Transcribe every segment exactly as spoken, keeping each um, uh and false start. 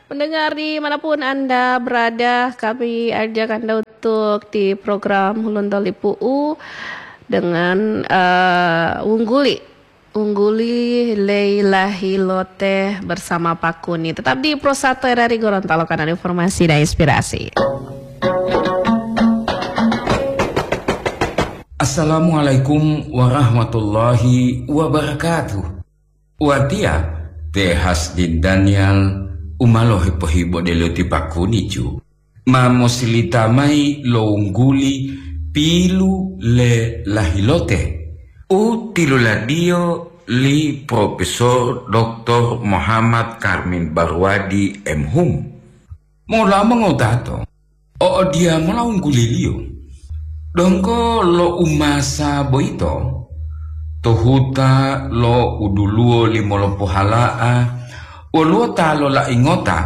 Pendengar di manapun Anda berada, kami ajak Anda untuk di program Hulontolipu'u dengan, eh, Wungguli. Wungguli Leila Hilote bersama Pak Kuni. Tetap di Pro satu R R I Gorontalo, kanal informasi dan inspirasi. Assalamualaikum warahmatullahi wabarakatuh. Watiya, te Hasdin Daniel, u ma lohipo-hipo delo ti Pak Kuni ju, ma mosilita mayi lo wungguli pilu le lahilote u tiluladiyo li Profesor Doktor Muhammad Karmin Barwadi, M Hum. Mola mongotato, o odiyamola wungguliliyo. Donggo lo umasa boyito, to huta lo uduluwo limolopohala'a, woluwo ta lola'i ngota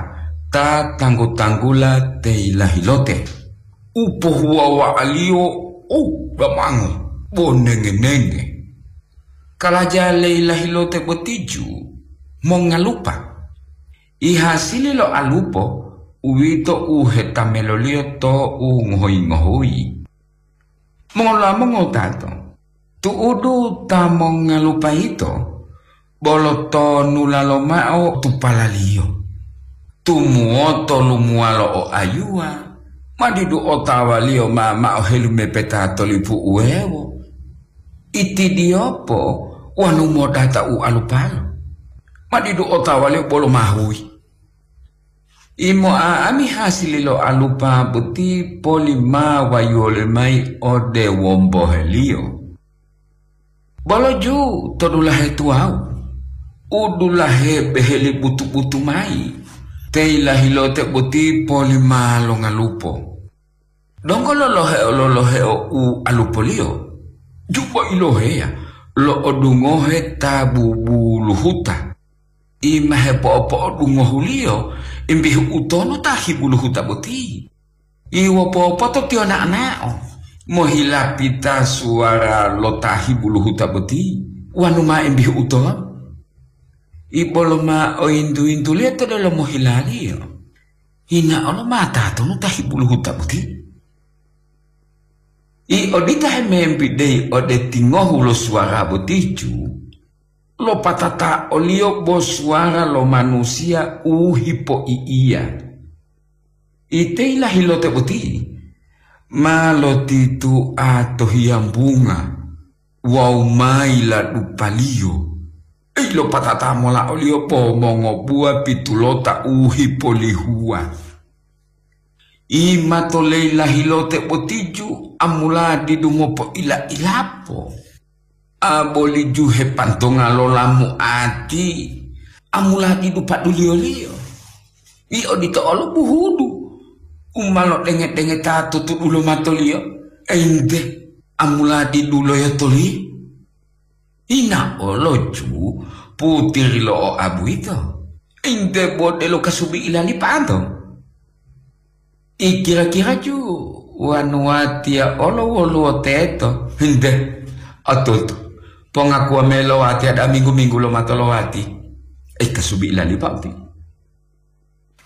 ta tanggu-tanggula te yilahilote, u pohuwawa'aliyo u damango bo nenge-nenge. Kalaja le yilahilote boti ju mongalupa. Ihasili lo alupo, uwito u hetameloliyo to u ngohoyi-ngohoyi. Mola mongotato, tu'udu ta mongalupa yito, bolo tonula lomao tupalaliyo. Tumuwoto lumuwalo o ayuwa, ma didu otawaliyo ma mao helumepeta to lipu uwewo. Itidiyopo wonu modata u alupalo, ma didu otawaliyo bolo mahuyi. Imo'a'ami hasili lo alupa boti poli ma wayuwole mayi ode womboheliyo. Bolo ju to dulahe tuwawu, u dulahe beheli butu-butu mayi, te yilahilote boti poli ma longalupo. Donggo loloheo-loloheo u alupoliyo, ju bo iloheya lo'odungohe ta bubuluhuta. I ma hepo'opo'odungohuliyo, imbihu utonu ta hibuluhuta boti. I wopopoto tiyo na'o-na'o, mohilapita suwara lo ta hibuluhuta boti, wanu ma imbihu utonu. I bolo ma oyintu-yintuliyo to delomo hilaliyo, hina olo ma tatonu ta hibuluhuta boti. I odita hemembideyi ode tingohu lo suwara boti ju, lopatata oliyo bo suwara lo manusiya u hipoi'iya. Ite yilahilote boti ma lotitua to hiyambunga wawu ma yiladupaliyo. Ei, lopatata mola oliyo bo mongobuwa pitulota u hipolihuwa. I mato leyilahilote boti ju amula didu mopoila-ilapo. A boli ju hepantonga lo lamuati, amula didu paduliyoliyo. I odito olo buhudu u ma lodenge-dengeta to tudulo matoliyo, ente, amula didu loyotoliyo. Ina olo ju putiri lo oabu yito, ente bo delo kasubi ilalipato. I kira-kira ju wanu watiya olo woluwo teto? Nte, otutu, pongakuwa mayi lo watiya da'a minggu-minggu lomato lo wati. Ei, kasubi ilalipa uti.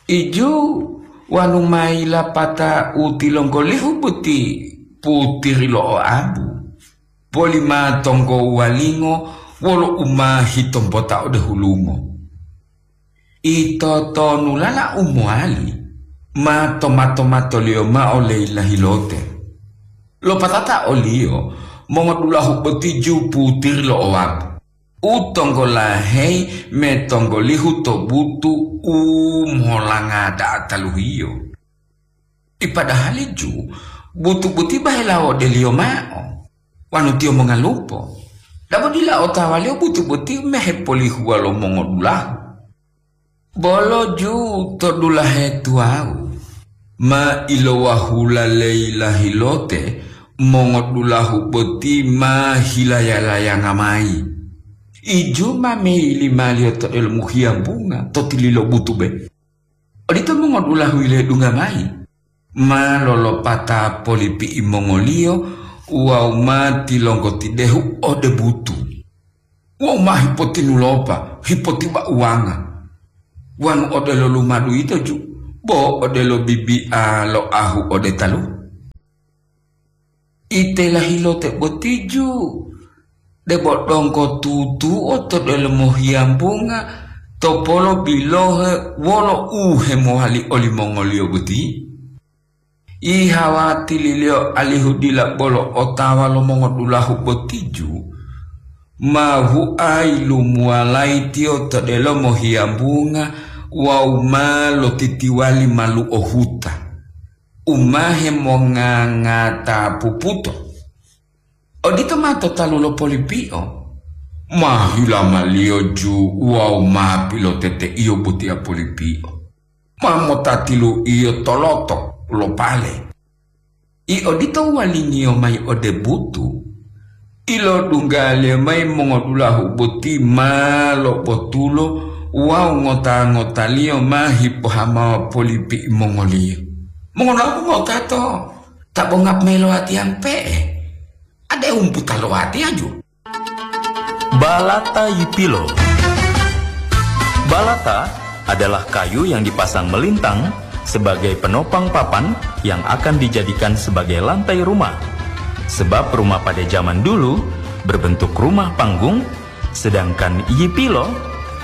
Iju wanu mayi lapata u tilonggolihu boti putiri lo oabu, poli ma tonggo walingo wolo u ma hitombota ode hulungo. Ito tonulala u mowali ma toma-tomatoliyo mao leyilahilote. Lopatata oliyo mongodulahu boti ju putiri lo oabu, u tonggolaheyi metonggolihu to butu u molanga da'a taluhiyo. Ipadahali ju butu boti bahela wodeliyo mao, wanu tiyo mongalupo. Dabo dila otawaliyo butu boti mehepolihuwa lo mongodulahu. Bolo ju to dulahe tuwawu, ma ilowahula leyilahilote mongodulahu boti ma hilaya-layanga mayi. Iju ma meyilimaliyo to delomu hiyambunga to tililo butube. Odito mongodulahu yiledungga mayi, ma lolopata polipi'i mongoliyo wawu ma tilonggotidehu ode butu. Wawu ma hipotinulopa, hipotibauwanga. Wonu odelo lumadu yito ju, bo odelo bibi'a lo ahu ode talu. Ite lahilote boti ju, debo donggo tutuo to delomo hiyambunga to polo bilohe wolo u hemowali olimongoliyo boti. Ihawatiliyo alihu dila bolo otawa lo mongodulahu boti ju, ma huayi lumuwalayi tiyo to delomo hiyambunga wawu ma lotitiwali maluo huta, u ma hemongangata puputo. Odito ma to talu lo polipio, ma hilamaliyo ju wawu ma piloteteiyo botiya polipio. Ma motatilu'iyo toloto lo pale. I odito uwalingiyo mayi ode butu, ilodunggaliyo mayi mongodulahu boti ma lobotulo wawu ngota-ngotaliyo ma hipohamawa polipi'i mongoliyo. Mongonapu ngotato, ta bo nga'amila lowatiyampe'e, ade umputa lowatiyaju. Balata yipilo. Balata adalah kayu yang dipasang melintang sebagai penopang papan yang akan dijadikan sebagai lantai rumah. Sebab rumah pada zaman dulu berbentuk rumah panggung, sedangkan yipilo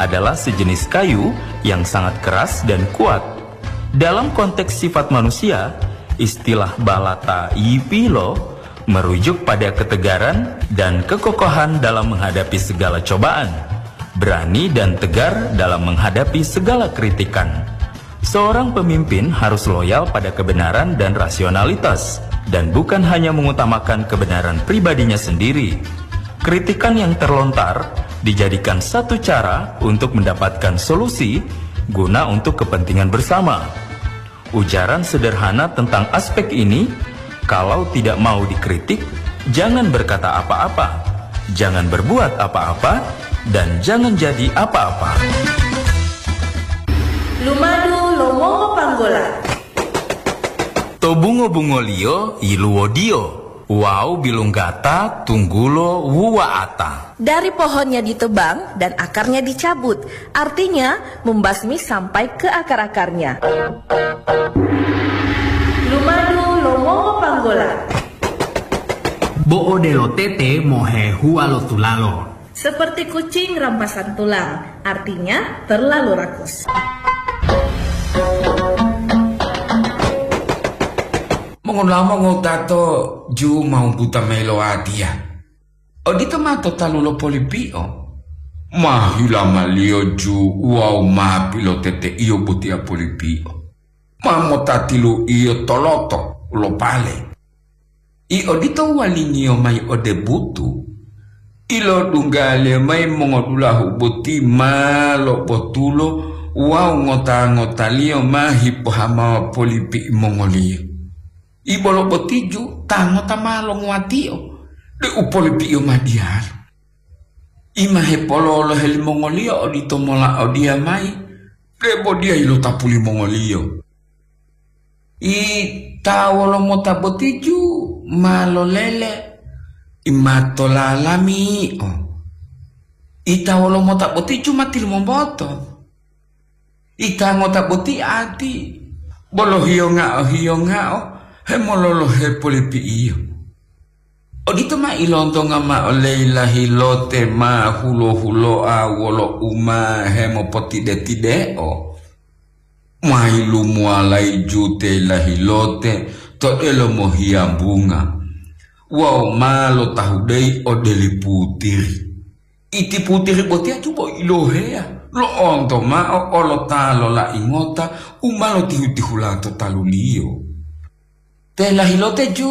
adalah sejenis kayu yang sangat keras dan kuat. Dalam konteks sifat manusia, istilah balata yipilo merujuk pada ketegaran dan kekokohan dalam menghadapi segala cobaan, berani dan tegar dalam menghadapi segala kritikan. Seorang pemimpin harus loyal pada kebenaran dan rasionalitas, dan bukan hanya mengutamakan kebenaran pribadinya sendiri. Kritikan yang terlontar dijadikan satu cara untuk mendapatkan solusi guna untuk kepentingan bersama. Ujaran sederhana tentang aspek ini, kalau tidak mau dikritik, jangan berkata apa-apa, jangan berbuat apa-apa, dan jangan jadi apa-apa. Lumadu lo mongo panggola. To bungo-bungoliyo yiluwodiyo wawu bilunggata tunggulo wuwa'ata. Dari pohonnya ditebang dan akarnya dicabut, artinya membasmi sampai ke akar-akarnya. Lumadu lo mongo panggola. Bo odelo tete mohehuwa lo tulalo. Seperti kucing rampasan tulang, artinya terlalu rakus. Mongonamo ngotato ju mau buta mayi lo watiya. Odito ma to talu lo polipio. Ma hilamaliyo ju wawu ma piloteteiyo botiya polipio. Ma motatilu'iyo toloto lo pale. I odito uwalingiyo mayi ode butu, ilodunggaliyo mayi mongodulahu boti ma lobotulo wawu ngota-ngotaliyo ma hipohamawa polipi'i mongoliyo. Ibolo botiju ta ngota ma longuwatio, de'u polipi'iyo ma diyalu. I ma hepololohe limongoliyo odito mola odiya mayi, debo diya yilotapu limongoliyo. I ta wolomota botiju ma lolele, i ma tolalami'o. I ta wolomota botiju ma tilumomboto. I ta ngota boti ati, bolo hiyonga'o-hiyonga'o hemololohe polipi'iyo. Odito ma ilontonga mao leyi lahilote ma hulo-huloa wolo u ma hemopotide-tideo. Ma yilumuwalayi jute lahilote to delomo hiyambunga wawu ma lotahudeyi ode li putiri. Iti putiri botiya cubo iloheya lo'onto mao olo ta lolai ngota u ma lotihu-tihula to taluliyo. Te lahilote ju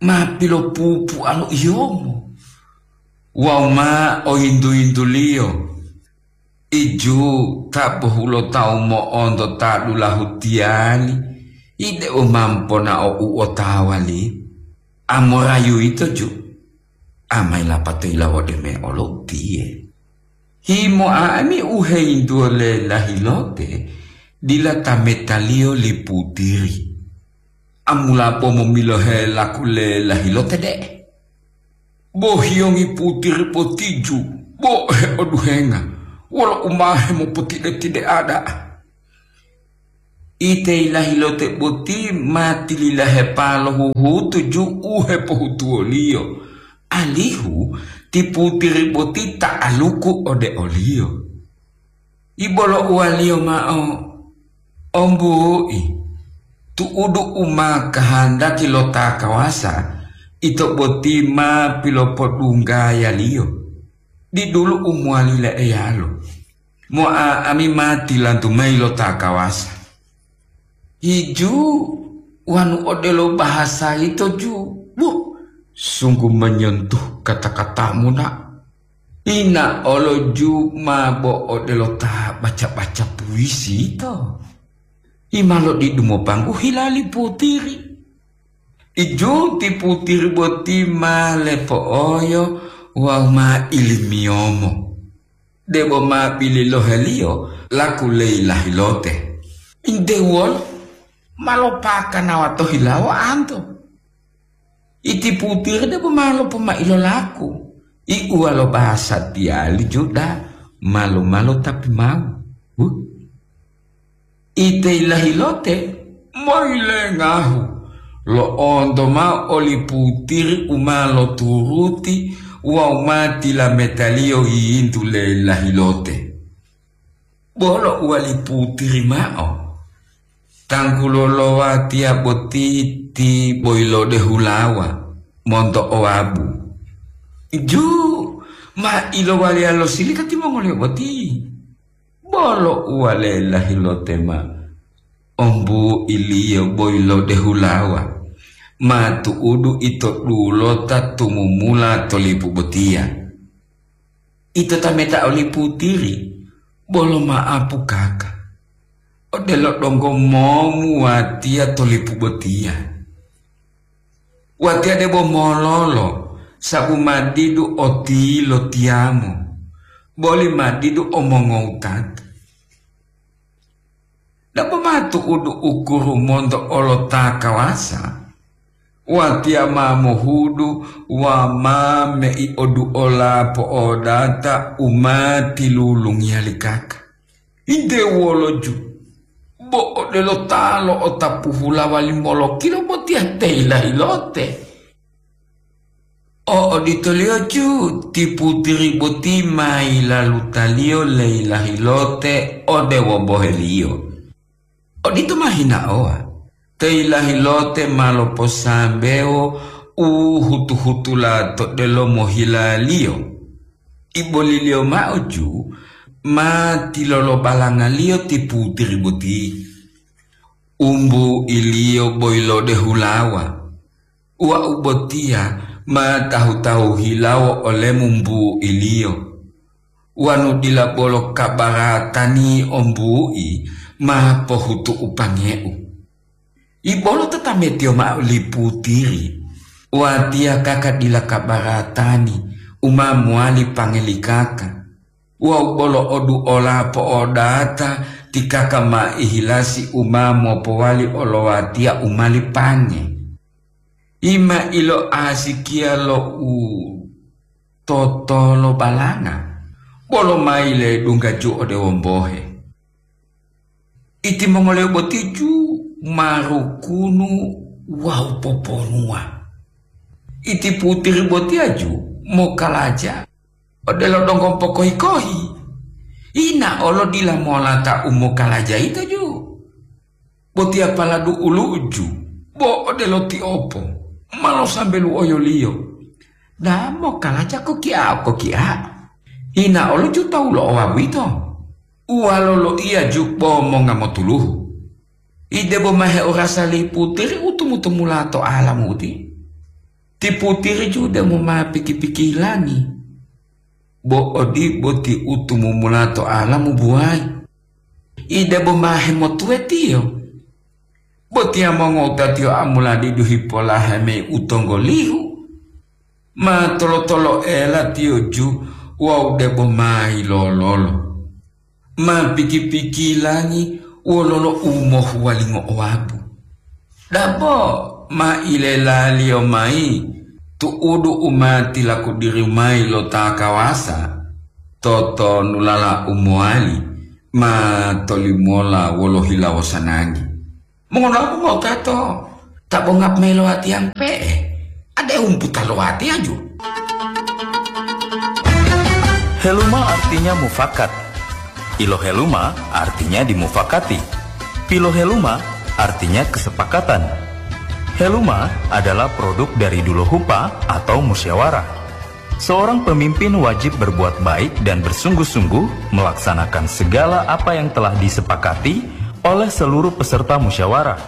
ma pilopupualo iyomo wawu ma oyintu-yintuliyo. Iju ta bohulotawu mo'onto ta dulahu tiyali, ide u ma mponao u otawali. Amorayu yito ju, amai lapato yilawode me olo utiye. Himoa ami u heyintuwo le lahilote, dila ta metaliyo li putiri. Amulapo momilohe laku le lahilote de'e. Bo hiyongi putiri potiju, bo heoduhenga, Wolo u ma hemopotide-tide'a da'a. Ite ilahilote boti ma tililahepa lo huhutu ju u hepohutuwoliyo, alihu ti putiri boti ta'aluku ode oliyo. Ibolo uwaliyo mao, "Ombu'i, tu'udu u ma kahandaki lo ta kawasa, ito boti ma pilopodunggayaliyo. Didulu u mowali le'eyalo. Mo'a'ami ma tilantu mayi lo ta kawasa." Hiju wanu odelo bahasa yito ju, buh, sungguh menyentuh kata-katamu, nak. Ina olo ju ma bo odelo ta baca-baca puisi yito. Ima lodidu mopanggu hilali putiri. Iju ti putiri boti ma lepo'oyo wawu ma ilimiyomo. Debo ma bililoheliyo laku leyi lahilote. Inte wolo ma lopakanawa to hilawo anto. Iti putiri debo ma lopomai lolaku. Iuwa lo bahasa tiyali Juda, malu-malu tapi mau. Huh? Ite ilahilote moyilengahu, lo'onto mao oli putiri u ma loturuti wawu ma tilametaliyo yiyintu le lahilote. Bolo uwali putiri mao, "Tanggulo lo watiya boti ti boyilode hulawa monto owabu." Ju ma ilowaliya lo silika timongoliyo boti. Bolo uwale lahilote ma, "Ombu'iliyo boyilode hulawa, ma tu'udu ito dulota tumumula to lipu botiya." Ito tameta oli putiri, bolo ma'apu kaka. Odelo donggo momu watiya to lipu botiya. Watiya debo mololo, sabu ma didu otilo tiyamo, boli ma didu omongowutata. Dabo ma tu'udu ukuru monto olo ta kawasa, watiya ma mohudu wa ma mei oduola po'odata u ma tilulungiya li kaka. Inte wolo ju, bo odelo ta lo'otapu hulawa limolokilo botiya te hila-hilote. O oditoliyo ju ti putiri boti ma yilalutaliyo leyilahilote ode womboheliyo. Odito ma hinaowa, te yilahilote ma loposambewo u hutu-hutula to delomo hilaliyo. Iboliliyo mao ju ma tilolobalangaliyo ti putiri boti. Umbu'iliyo boyilode hulawa. Wau botiya ma tahu-tahu hilawo olemu mbu'iliyo. Wanu dila bolo kabaratani ombu'i ma pohutu'u pange'u. Ibolo tatametiyo mao li putiri, watiya kaka dila kabaratani u ma mowali pangelikaka. Wawu bolo oduola po'odata ti kaka ma ihilasi u ma mopowali olowatiya u mali pange. Ima iloasikiya lo u totolobalanga, bolo ma yiledungga ju ode wombohe. Itimongoliyo boti ju ma rukunu wawu poponuwa. Iti putiri botiya ju mokalaja odelo donggo pokohi-kohi. Ina olo dila molata u mokalaja yito ju. Botiya paladu ulu'u ju, bo odelo tiopo, ma losambelu oyoliyo. Damo kalaja kokiao-kokiao. Ina olo ju tawu lo owabu yito. Uwalo loiya ju bo monga motuluhu. Idebo ma heorasa li putiri u tumu-tumula to alamu uti. Ti putiri ju demo ma piki-pikilangi. Bo odibo ti u tumumula to alamu buwayi. Idebo ma hemotuwetiyo. Botiya mongowutatiyo amuladidu hipolahe mayi u tonggolihu. Ma tolo-toloela tiyo ju wawu debo ma yilololo. Ma piki-pikilangi wololo u mohuwalingo owabu. Dabo ma ilelaliyo mayi tu'udu u ma tilakudiri mayi lo ta kawasa. Totonulala u mowali ma tolimola wolo hilawo sanangi. Mongonapu motato ta bongap mayi lo atiyang pe'e, ade umputa lo atiyaju. Heluma artinya mufakat. Iloheluma artinya dimufakati. Piloheluma artinya kesepakatan. Heluma adalah produk dari dulohupa atau musyawarah. Seorang pemimpin wajib berbuat baik dan bersungguh-sungguh melaksanakan segala apa yang telah disepakati oleh seluruh peserta musyawarah,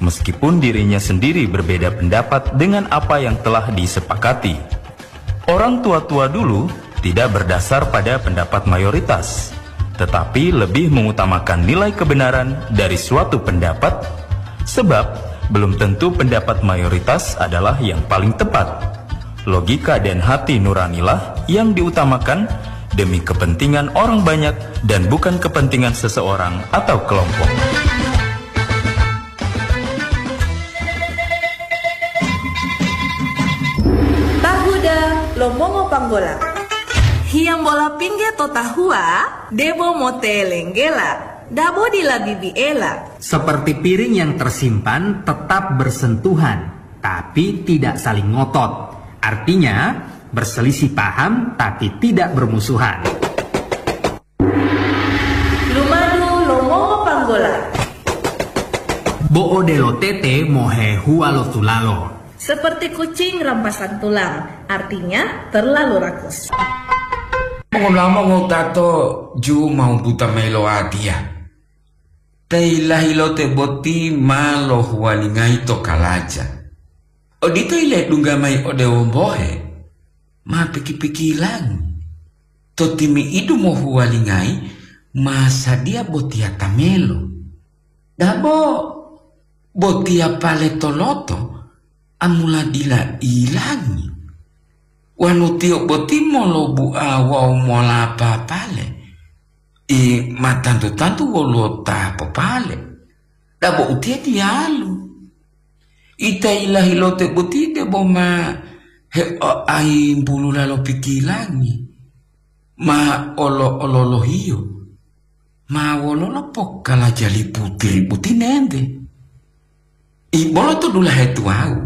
meskipun dirinya sendiri berbeda pendapat dengan apa yang telah disepakati. Orang tua-tua dulu tidak berdasar pada pendapat mayoritas, tetapi lebih mengutamakan nilai kebenaran dari suatu pendapat, sebab belum tentu pendapat mayoritas adalah yang paling tepat. Logika dan hati nuranilah yang diutamakan demi kepentingan orang banyak dan bukan kepentingan seseorang atau kelompok. Tahuda lo mongo panggola. Hiyambola pingge to tahuwa, debo motelenggela, dabo dila bibiela. Seperti piring yang tersimpan tetap bersentuhan, tapi tidak saling ngotot. Artinya, berselisih paham tapi tidak bermusuhan. Lumadu lo mongo panggola. Bo odelo tete mohehuwa lo tulalo. Seperti kucing rampasan tulang, artinya terlalu rakus. Mongonamo ngotato ju mau buta mayi lo watiya. Tei lahilote boti ma lohuwalingayi to kalaja. Odito iledungga mayi ode wombohe, ma piki-pikilangi. To timi'idu mohuwalingayi ma sadiya botiya tamelo. Dabo botiya pale toloto amula dila ilangi. Wanu tiyo boti molobua wawu molapa pale, i ma tantu-tantu woluwo ta popale. Dabo utiye diyalu. Ita ilahilote boti debo ma heoayimbulula lo pikilangi, ma olo-ololohiyo, ma wololo pokalajali putiri boti nente. Ibolo to dulahe tuwawu,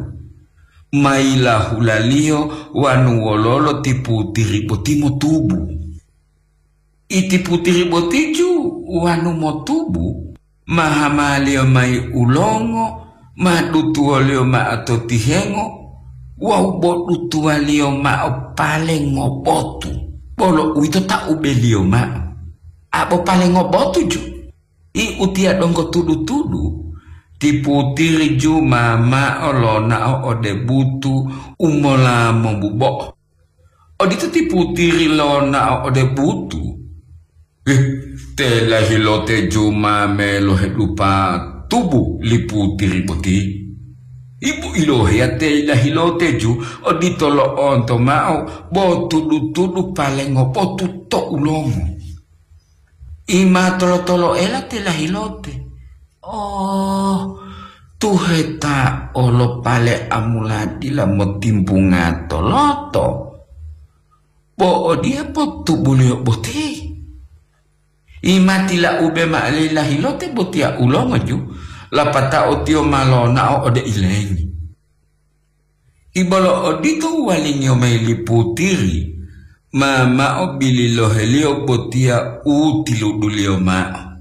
ma yilahulaliyo wanu wololo ti putiri boti motubu. Iti putiri botiju wanu motubu, ma hamaliyo mayi ulongo, ma dutuwoliyo mao to tihengo, wawu bo dutuwaliyo mao pale ngobotu, bolo uwito ta ubeliyo mao. Abo pale ngobotuju, i utiya donggo tudu-tudu, ti putiri ju ma mao lonao ode butu u mola mobubo'o. Odito ti putiri lonao ode butu. Ih, te lahilote ju ma melohedupa tubu li putiri boti. Ibu iloheya te lahilote ju odito lo'onto mao bo tudu-tudu palengo botu to ulongo. I ma tolo-toloela te lahilote. Oh, tuheta olo pale amula dila motimbunga toloto. Bo odiye potubuliyo boti. I ma tilaube mao li lahilote botiya ulongoju, lapatao tiyo ma lonao ode ilengi. Ibolo odito uwalingiyo mayi li putiri, ma mao bililoheliyo botiya u tiluduliyo mao.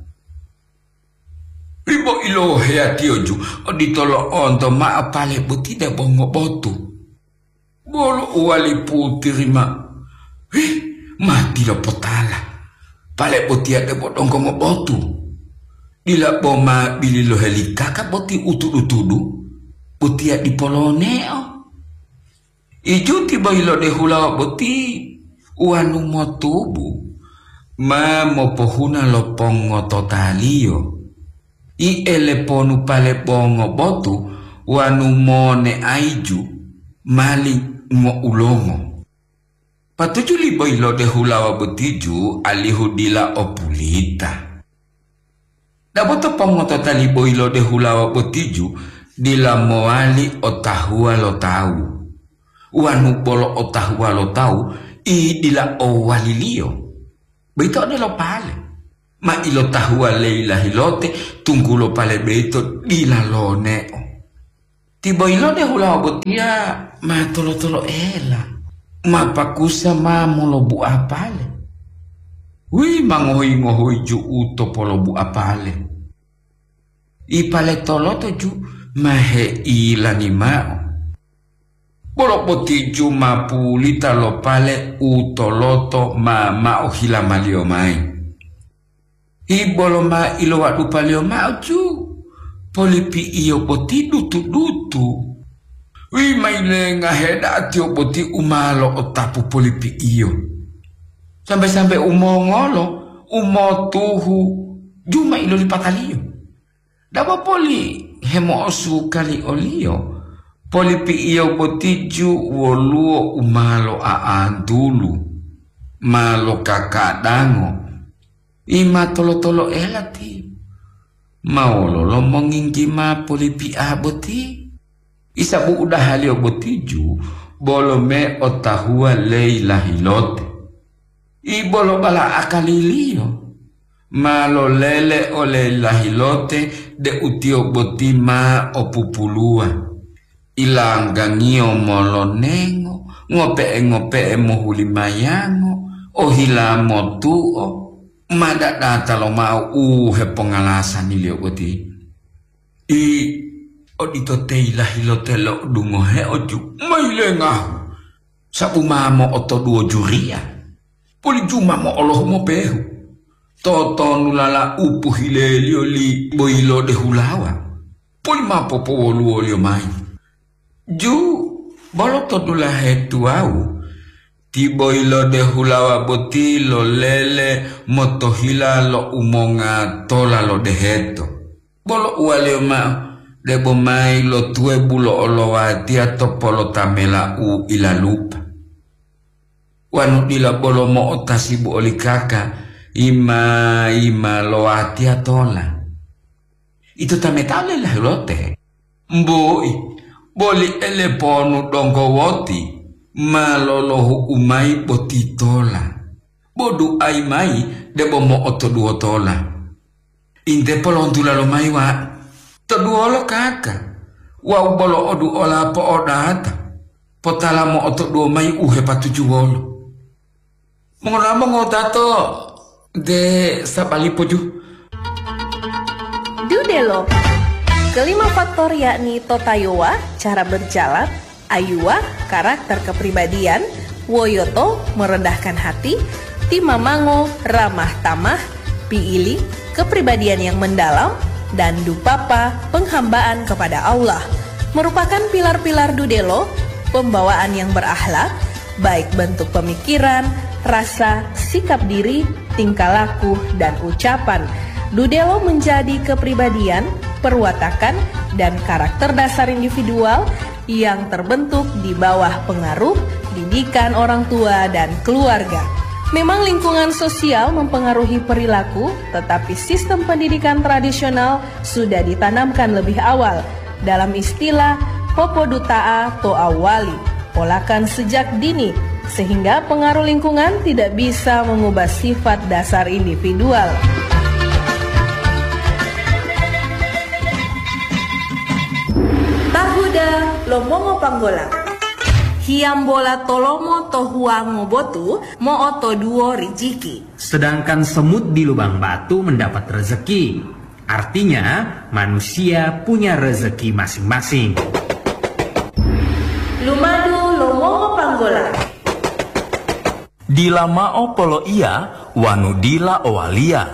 Ribo iloheyatiyoju odito lo'onto mao pale boti debo ngobotu. Bolo uwali putiri ma, "Hih, ma dila potala, pale botiya debo donggo ngobotu. Dila bo ma bililoheli kaka boti u tudu-tudu, botiya dipo loneo." Ijuti boyilode hulawa boti wanu motubu, ma mopohuna lo pongototaliyo. I eleponu pale bongo botu wanu moneaiju mali ngoulongo. Patuju liboyilode hulawa botiju alihu dila o pulita. Dabo to pongotota liboyilode hulawa botiju dila mowali otahuwa lo tawu. Wanu bolo otahuwa lo tawu, i dila owaliliyo. Boyito odelo pale. Ma ilotahuwa leyi lahilote, tunggulo pale boyito dila loneo. Tiboyilode hulawa botiya ma tolo-toloela, ma pakusa ma molobu'a pale. Wi ma ngohoyi-ngohoyi ju'u to polobu'a pale. Ipale toloto ju ma heilani ma'o. Bolo boti ju ma pulita lo pale u toloto ma ma'o hilamaliyo mayi. Ibolo ma ilowadupaliyo ma'o ju, polipi'iyo boti dutu-dutu. Wi ma yilenga heda'a tiyo boti u ma lo'otapu polipi'iyo. Sambe-sambe u mongolo, u motuhu, ju ma ilolipataliyo. Dabo poli hemo'osuka li oliyo, polipi'iyo boti ju woluwo u ma lo'a'antulu, ma lokakadango, i ma tolo-toloela tiyo. Ma wololo monginggi ma polipi'a boti? Isa bu'udahaliyo boti ju bolo me otahuwa leyi lahilote. Ibolo bala akaliliyo ma lolele ole lahilote deu tiyo boti ma o pupuluwa. Ilanggangiyo molonengo, ngope'e-ngope'e mohulimayango, ohila motu'o, ma dadata lomao u hepongalasaniyo boti. I odito teyi lahilote lo'odungoheo ju ma yilengahu, sabu ma mo'otoduwo juriya, poli ju ma mo'olohu mopehu. Totonulala u pohileliyo li boyilode hulawa, poli ma popowoluwoliyo mayi. Ju bolo to dulahe tuwawu, ti boyilode hulawa boti lolele motohila lo umonga tola lo deheto. Bolo uwaliyo mao, debo mayi lo tuwebu lo olowatiya to polotamela u ilalupa. Wanu dila bolo mo'otasibu oli kaka, yima-yima lo watiya tola. Ito tametao lelahulote. Mbui, boli eleponu donggo woti ma lolohu'u mayi boti tola. Bo duayi mayi debo mo'otoduwo tola. Inte polontula lomayi wa, toduwolo kaka, wau bolo oduola po'odata, potala mo'otoduwo mayi u hepatujuwolo. Mongola mongotato de sabalipo ju. Dudelo. Kelima faktor yakni totayowa, cara berjalan, ayuwa, karakter kepribadian, woyoto, merendahkan hati, timamango, ramah tamah, piili, kepribadian yang mendalam, dan dupapa, penghambaan kepada Allah, merupakan pilar-pilar dudelo, pembawaan yang berakhlak, baik bentuk pemikiran, rasa, sikap diri, tingkah laku, dan ucapan. Dudelo menjadi kepribadian, perwatakan, dan karakter dasar individual yang terbentuk di bawah pengaruh didikan orang tua dan keluarga. Memang lingkungan sosial mempengaruhi perilaku, tetapi sistem pendidikan tradisional sudah ditanamkan lebih awal. Dalam istilah, popoduta'a to awali, polakan sejak dini, sehingga pengaruh lingkungan tidak bisa mengubah sifat dasar individual. Tahuda lo mongo panggola. Hiyambola tolomo to huwango botu mo'otoduwo rijiki. Sedangkan semut di lubang batu mendapat rezeki. Artinya, manusia punya rezeki masing-masing. Lumadu lo mongo panggola. Dila mao poloiya wanu dila owaliya,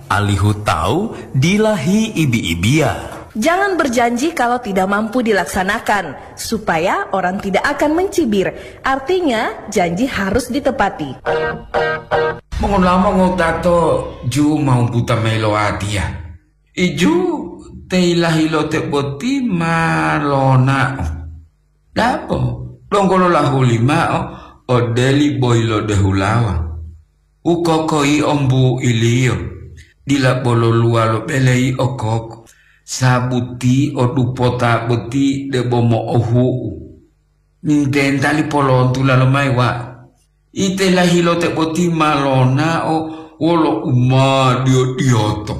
alihu tawu dila hi'ibi-ibiya. Jangan berjanji kalau tidak mampu dilaksanakan, supaya orang tidak akan mencibir. Artinya, janji harus ditepati. Mongolama ngotato ju mau buta mayi lo watiya. Iju te ilahilote boti ma lonao. Dabo, donggo lolahuli mao ode li boyilode hulawa. Ukoko yio mbuiliyo, dila bolo luwalo bele yio koko, sabuti o dupota boti debo mo'ohu'u. Nintentali polontula lomayi wa, ite lahilote boti ma lonao wolo umadiyo-diyoto.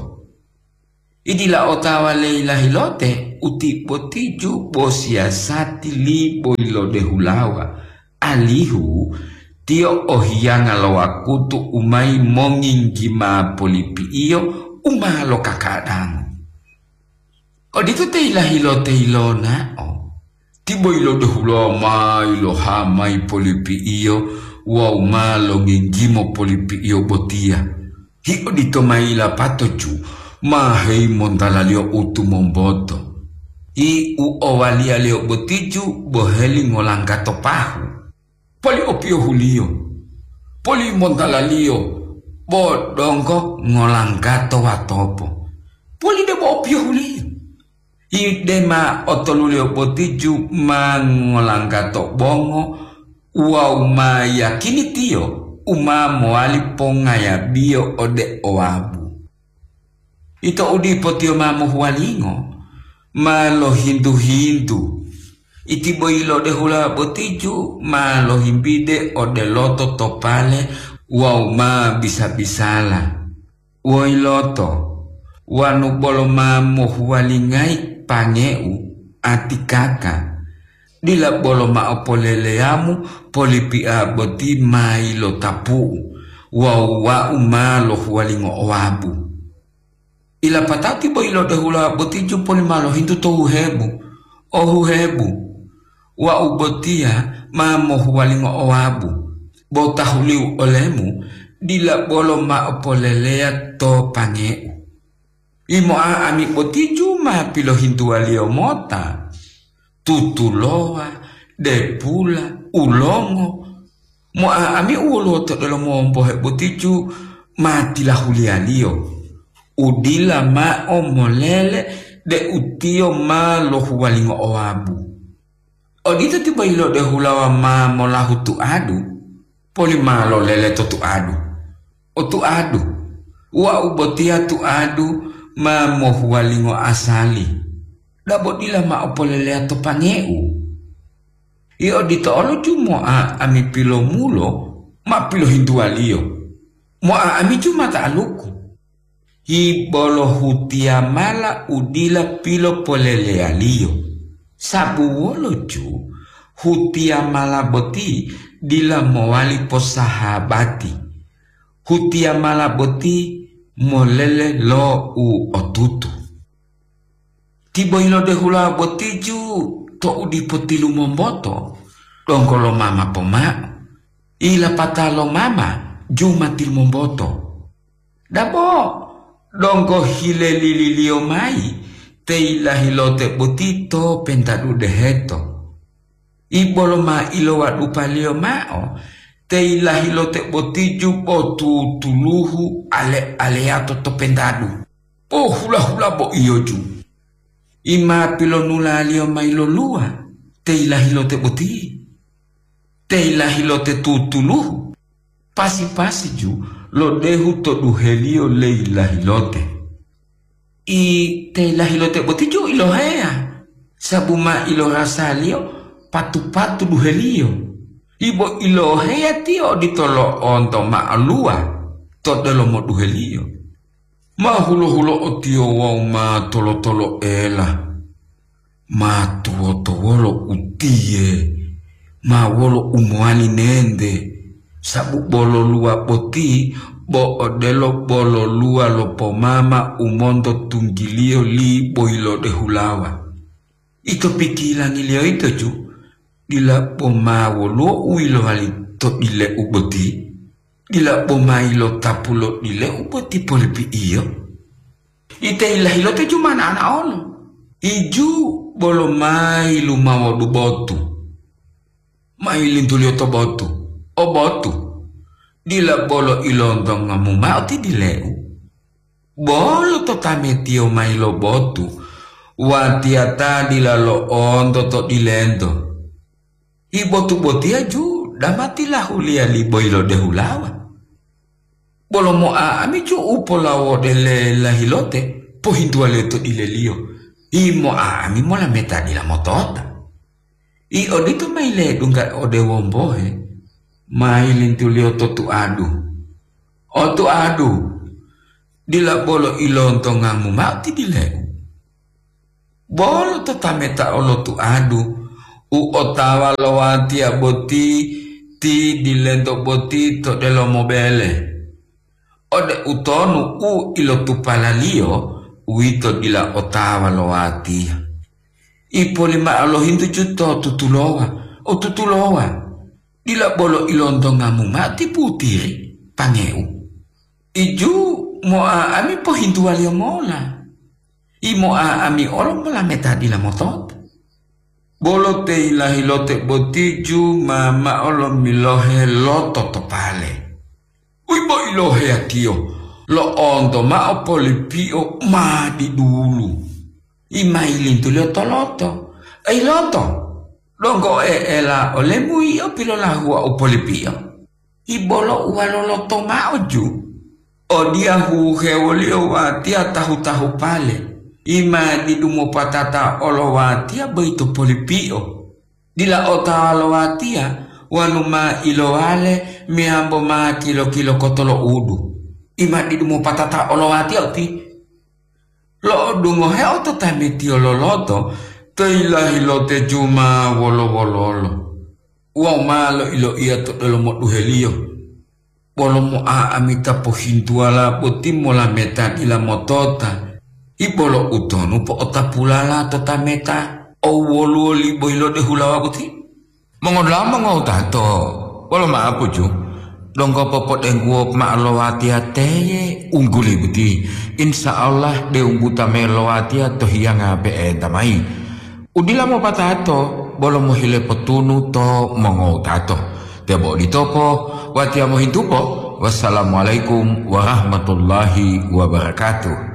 Idila otawa leyi lahilote uti botiju bo siyasati li boyilode hulawa, alihu tiyo ohiyanga lo wakutu u mayi monginggima polipi'iyo u ma lokakadango. Odito te yilahilote yilonao, ti boyilode hulawa ma yiloha mayi polipi'iyo wawu ma longinggimo polipi'iyo botiya. Hi odito ma yilapato ju ma heyimontalaliyo u tumomboto. Hi u owaliyaliyo botiju boheli ngolanggato pahu. Poli opiyohuliyo, poli montalaliyo, bo donggo ngolanggato watopo. Poli debo opiyohuliyo. Hi dema otoluliyo botiju ma ngolanggato bongo wawu ma yakini tiyo u ma mowali pongayabiyo ode owabu. Ito u dipo tiyo ma mohuwalingo, ma lohintu-hintu. Iti boyilode hulawa botiju ma lohimbide ode loto to pale wawu ma bisa-bisala. Woiloto, wanu bolo ma mohuwalingayi pangeu, atikaka, dila bolo mao poleleyamu polipia boti ma yilotapu'u wawu wau ma lohuwalingo owabu. Ilapatao ti boyilode hulawa botiju poli ma lohintu to huhebu, ohuhebu, wau botiya ma mohuwalingo owabu, bo tahuliu olemu dila bolo mao poleleya to pangeu. Imoa ami botiju ma pilohintuwaliyo mota, tutulowa, depula, ulongo. Moa ami u woluwo to delomo wombohe botiju ma tilahuliyaliyo, u dila mao molele deu tiyo ma lohuwalingo owabu. Odito ti boyilode hulawa ma molahu tuadu, poli ma lolele to tuadu. O tuadu, wau botiya tuadu ma mohuwalingo asali, dabo dila mao poleleya to pangeu. Io odito olo ju moa ami pilomulo ma pilohintuwaliyo, moa ami ju ma ta'aluku. Hi bolo hutiyamala u dila pilopoleleyaliyo, sabu wolo ju hutiyamala boti dila mowali posahabati. Hutiyamala boti molele lo u otutu. Ti boyilode hulawa botiju to u dipo tilumomboto, donggo lo mama pomao. Ilapata lo mama ju ma tilumomboto. Dabo, donggo hilelililiyo mayi te yilahilote boti to pentadu deheto. Ibolo ma ilowadupaliyo mao te yilahilote botiju bo tutuluhu ale-aleyato to pentadu. Bo hula-hula bo iyoju. Ima pilonulaliyo mayi loluwa te yilahilote boti. Te yilahilote tutuluhu, pasi-pasi ju lodehu to duheliyo le yilahilote. I te yilahilote boti ju iloheya, sabu ma ilorasaliyo patu-patu duheliyo. Ibo iloheya tiyo odito lo'onto ma'aluwa to delomo duheliyo. Ma hulo-hulo'o tiyo wawu ma tolo-toloela. Ma tuwoto wolo utiye, ma wolo u mowali nente, sabu bololuwa boti bo odelo bololuwa lo pomama u monto tunggiliyo li boyilode hulawa. Ito pikilangiliyo yito ju, dila bo ma woluwo u yilowali to dileu boti? Dila bo ma yilotapu lo dileu boti polipi'iyo? Ite yilahilote ju ma na'ana olo. Iju bolo ma yilumawodu botu. Ma yilintuliyo to botu. O botu, dila bolo ilontongamu mao ti dileu. Bolo to tametiyo mayi lo botu, watiya ta dila lo'onto to dilento. Hi botu botiya ju dama tilahuliya li boyilode hulawa. Bolo moa ami ju u polawode le lahilote, pohintuwaliyo to dileliyo. Hi moa ami molameta dila motota. I odito mayi ledungga ode wombohe, ma yilintuliyo to tuadu. Otuadu, dila bolo ilontongamu mao ti dileu. Bolo to tameta olotuadu, u otawa lo watiya boti ti dilento boti to delomo bele. Ode utonu u ilotupalaliyo, uwito dila otawa lo watiya. Ipoli mao lohintu juto tutulowa, o tutulowa, dila bolo ilontongamu mao ti putiri, pangeu. Iju moa ami pohintuwaliyo mola. Imoa ami olo molameta dila motota. Bolo te ilahilote boti ju ma mao lomilohe loto to pale. Uibo iloheyatiyo, lo'onto mao polipio ma didulu. Imailintuliyo to loto. Ei loto, donggo e'ela olemu yio pilolahuwa u polipio. Ibolo uwaloloto mao ju. Odiya huhewoliyo watiya tahu-tahu pale. Ima didu mopatata olo watiya boyito polipio. Dila otawa lo watiya wonu ma ilowale meyambo ma kilo-kilo kotolo'udu. Ima didu mopatata olo watiya uti. Lo'odungoheo to tametiyo loloto, to yilahilote juma wolo-wololo. Wawu ma loiloiya to delomo duheliyo. Bolo moa amita pohintuwala boti molameta dila motota. Ibolo utonu po'otapulala to tameta, o woluwo libohi lode hulawa boti? Mongodula'a mongowutato, wolo ma'apuju, donggo popodengguwo ma'o lo watiya teye ungguli boti. Insya Allah, deu buta me lo watiya to hiyanga pe'enta mayi. Udila mopatato, bolo mohile potunu to mongowutato. Tebo oditopo, watiya mohintupo. Wassalamualaikum warahmatullahi wabarakatuh.